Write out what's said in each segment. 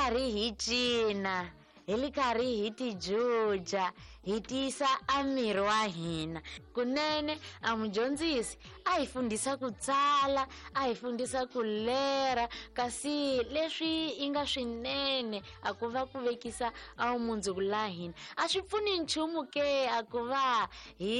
karhi hi cina hi li karhi hi tijuja hi tiyisa a miri wa hina kunene a mudyondzisi a hi fundisa ku tsala a hi fundisa ku lera kasi leswi yi nga swinene a ku va ku vekisa a vumundzuku la hina a swi pfuni nchumu ke a ku va hi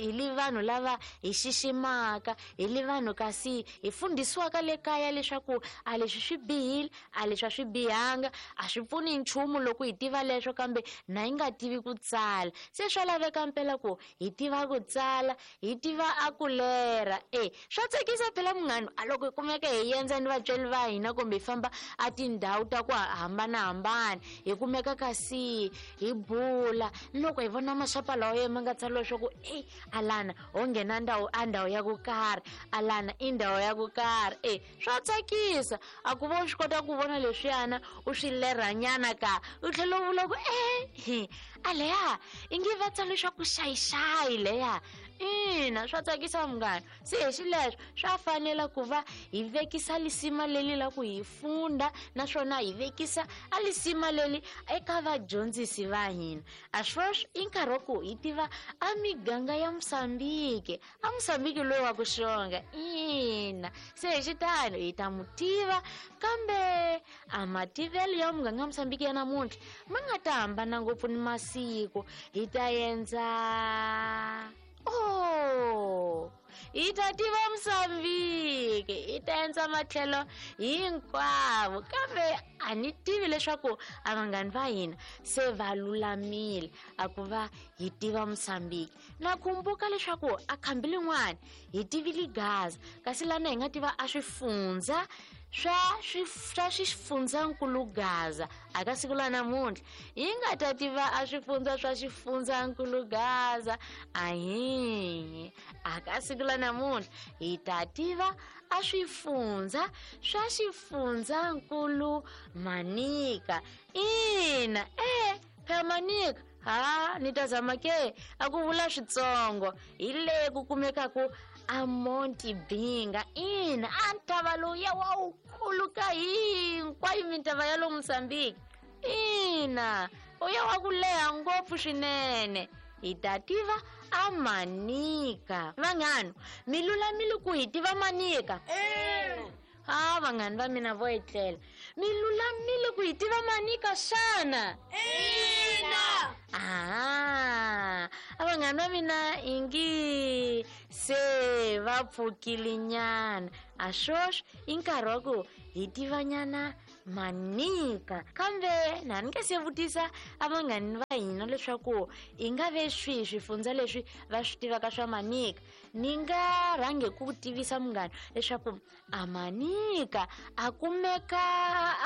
hi li vanhu lava hi xiximaka hi li vanhu kasi hi fundhisiwaka le kaya leswaku a leswi swi bihile a leswi a swi bihanga a swi pfuni nchumu loko hi tiva leswo kambe na yi nga tivi ku tsala se swa laveka mpela ku hi tiva ku tsala hi tiva a ku lera e swa tsakisa phela munghano a loko hi kumeka hi endza ni vatswari va hina kumbe hi famba a tindhawu ta ku hambanahambana hi kumeka kasi hi bula ni loko hi vona maxapa lawa ya ma nga tsariwa leswaku e alana ho nghena ndhawu a ndhawu ya ku karhi alana i ndhawu ya ku karhi e swa tsakisa a ku va u swi kota ku vona leswiyana u swi lerhanyana ka u tlhela u vula ku e a leya i nge va tsala leswaku xayixayi leya ina swa tsakisa munghana se hi xileswo swa fanela ku va hi vekisa lisima leli la ku hi funda naswona hi vekisa a lisima leli eka vadyondzisi va hina a sweswi i nkarhi wa ku hi tiva a miganga ya Mosambiki a Mosambiki loyi wa ku xonga ina se hi xitano hi ta mu tiva kambe a mativelo ya muganga Mosambiki ya namuntlha ma nga ta hambana ngopfu ni masiku hi ta endza oh hi ta tiva Mosambiki hi ta endza matlhelo hinkwavo kambe a ni tivi leswaku a vanghani va hina se va lulamile a ku va hi tiva Mosambiki na khumbuka leswaku a khambi lin'wana hi tivile Gaza kasi lana hi nga tiva a swifundza swa swa swifundzankulu Gaza a ka siku la namuntlha hi nga ta tiva a swifundza swa xifundzankulu Gaza ahi a ka siku la namuntlha hi ta tiva a swifundza swa xifundzankulu Manika ina e phela Manika ha ni ta zama ke a ku vula switsongo hi le ku kumekaku a Monti Binga ina a ntava lowuya wa wukulu ka hinkwayo mintava ya lo Mozambique ina uya wa ku leha ngopfu swinene hi ta tiva a Manika vanghano mi lulamile ku hi tiva Manika ha vanghani va mina vo etlela mi lulamile ku hi tiva Manika xana ina aha a vanghani va mina ingi se va pfukile nyana a swoswi i nkarhi wa ku hi tivanyana Manika kambe na ni nga se vutisa a vanghani va hina leswaku i nga ve swihi swifundza leswi va swi tivaka swa Manika ni nga rhange ku tivisa munghana leswaku a Manika a kumeka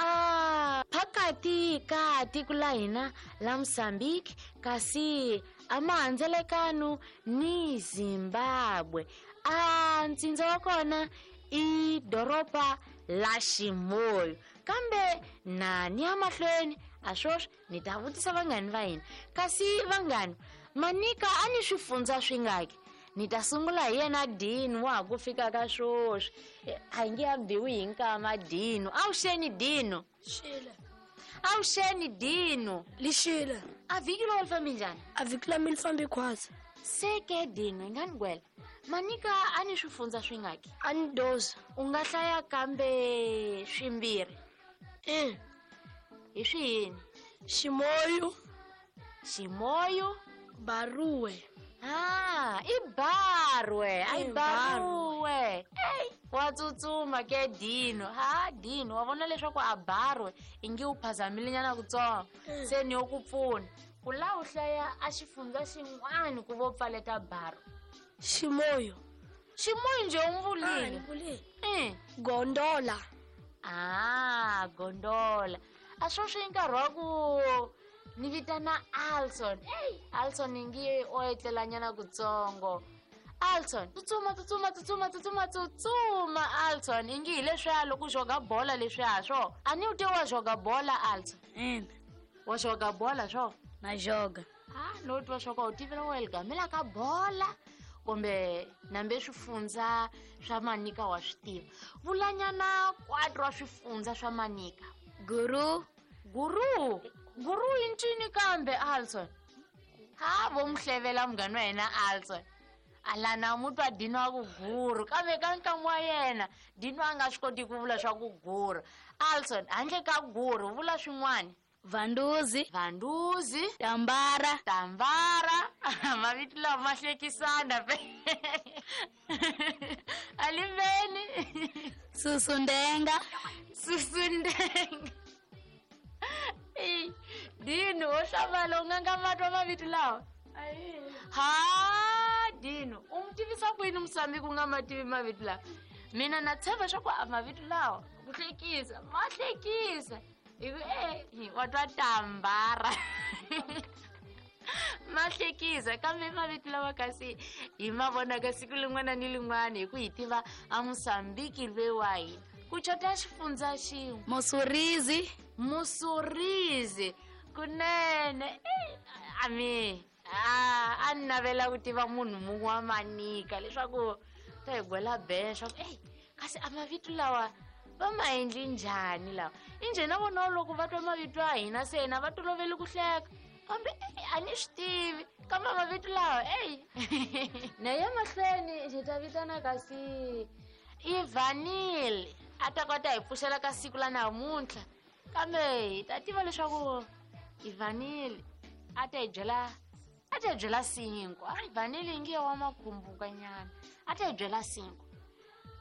a phakati ka tiko la hina la Mozambique kasi a mahandzelekano ni Zimbabwe a ntsindza wa kona i doroba la Ximoyo kambe na ni ya mahlweni a swoswi ni ta vutisa vanghani va hina kasi vanghani Manika a ni swifundza swi ngaki ni ta sungula hi yena Dino wa ha ku fika ka swoswi a hi nge a biwi hi nkama Dino avuxeni Dino Xile. Avuxeni Dino Lixile. A vhiki lowu li fambi njhani A vhiki la mi li fambi khwatsi Se ke Dino hi nga ni gwela Manika a ni swifundza swi ngaki A ni doza U nga hlaya kambe swimbirhi E Hi swihini Ximoyo Ximoyo Baruwe Ah, i Barwe a i Eh, Barwe Ey, wa tsutsuma ke Dino ha Dino wa vona leswaku a Barwe i nge u phazamile nyana kutsongo se ni yo ku pfuna ku la u hlaya a xifundza xin'wana ku vo pfaleta Barwe Ximoyo Ximoyo njhe u Ah, vulile ni vulile Eh. Gondola Ah, Gondola a swoswi i nkarhi wa ku ni vitana Alson ey Alson i nge o etlelanyana kutsongo Alson tsutsuma tsutsuma tsutsuma tsutsuma tsutsuma Alson i nge hi leswiya loko u xoga bola leswiya swo a ni u te wa xoga bola Alson Ina. Wa xoga bola swo Na xoga a no twa swa ku a wu tivela wa ligamela ka bola kumbe nambe swifundza swa Manika wa swi tiva vulanyana 4 wa swifundza swa Manika Guru Guru, guru i ncini kambe Alson? Ha vo mu hlevela munghana wa hina Alson. Alana mu twa Dino a ku guru, kambe ka nkamu wa yena Dino a nga swi koti ku vula swa ku guru. Alson, handle ka guru vula swin'wana. Vanduzi. Vanduzi. Tambara. Tambara. Mavito lawa ma hlekisana pe. Aliveni. Susundenga. Susundenga. Ey, Dino, wo hlamala u nga nga matwa mavito lawa? Ha, Dino, u n'wi tivisa kwini Musami ku nga ma tivi mavito lawa? Mina na tshemba swa ku a mavito lawa ku hlekisa, ma hlekisa. Hi ku e wa twa tambara. Ma hlekisa kambe mavito lawa kasi hi ma vonaka siku lin'wana ni lin'wana hi ku hi tiva a Mosambiki loyi wa hina. Ku chota xifundza xin'we. Musurizi. Musurizi. Kunene. Ami, a ni navela ku tiva munhu mun'we wa Manika leswaku ta hi gwela ben swa ku ey kasi a mavito lawa va ma endli njhani lawa. Injhe na vona loko va twa mavito ya hina se na va toloveli ku hleka. Kambe ey a ni swi tivi kambe mavito lawa ey. Na ya mahlweni hi ta vitana kasi Ivanil a ta kota hi pfuxela ka siku la namuntlha. Kambe hi ta tiva leswaku Ivanil a ta hi byela, a ta hi byela cinco. A Ivanil yi nge wa makhumbuka nyana. A ta hi byela cinco.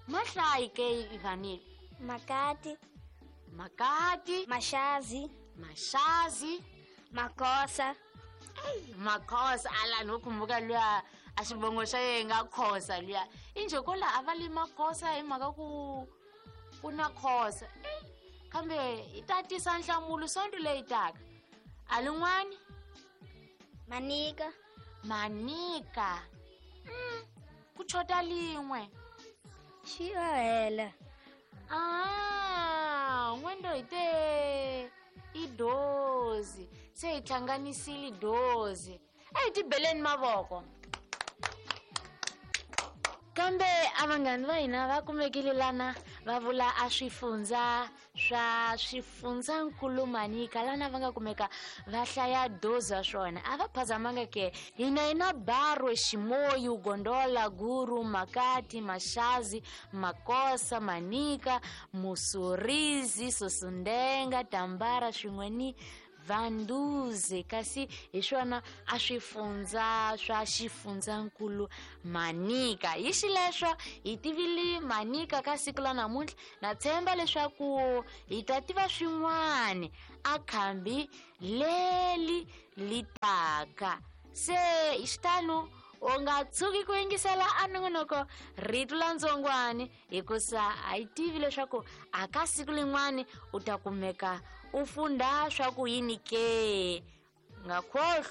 Mahlayi ke Ivanil? Makati. Makati. Mashazi. Mashazi. Makosa. Ey, Makosa ala no khumbuka luya a xivongo xa yena nga Khosa luya. Injhe ko la a va li Makosa hi mhaka ku ku na Khosa. Ey, kambe hi ta tisa nhlamulo sonto leyi taka. A lin'wani? Manika. Manika. Ku chota lin'we. Xi hela. Ah, n'wendo hi te i dozi. Se hi hlanganisile dozi. A hi tibeleni mavoko. Kambe a vanghani va hina va kumekile lana va vula a swifundza swa swifundzankulu Manika lana va nga kumeka va hlaya dozi wa swona. A va phazamanga ke hina hi na Barwe, Ximoyu, Gondola, Guru, Makati, Mashazi, Makosa, Manika, Musurizi, Susundenga, Tambara swin'we ni Vanduze. Kasi hi swona a swifundza swa xifundzankulu Manika. Hi xileswo hi tivile Manika ka siku la namuntlha. Na tshemba leswaku hi ta tiva swin'wana a khambi leri li taka. Se hi xitalo u nga tshuki ku yingisela a nongonoko Rito la Ntsongwani hikusa a yi tivi leswaku a ka siku lin'wani u ta kumeka u funda swa ku yini ke. Nga khohlwi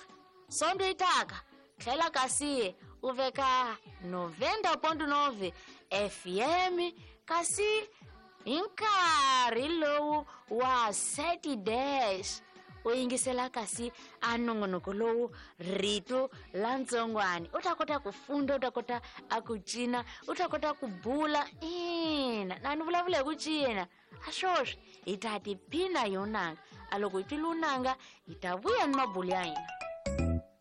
sonto yi taka tlhela kasi u veka 90.9 FM kasi hi nkarhi lowu wa Saturdays u yingisela kasi a nongonoko lowu Rito la Ntsongwani. U ta kota ku funda, u ta kota a ku cina, u ta kota ku bula. Ina, na ni vulavula hi ku cina. A swoswi hi ta tiphina hi unanga. A loko hi twile unanga hi ta vuya ni mabulu ya hina.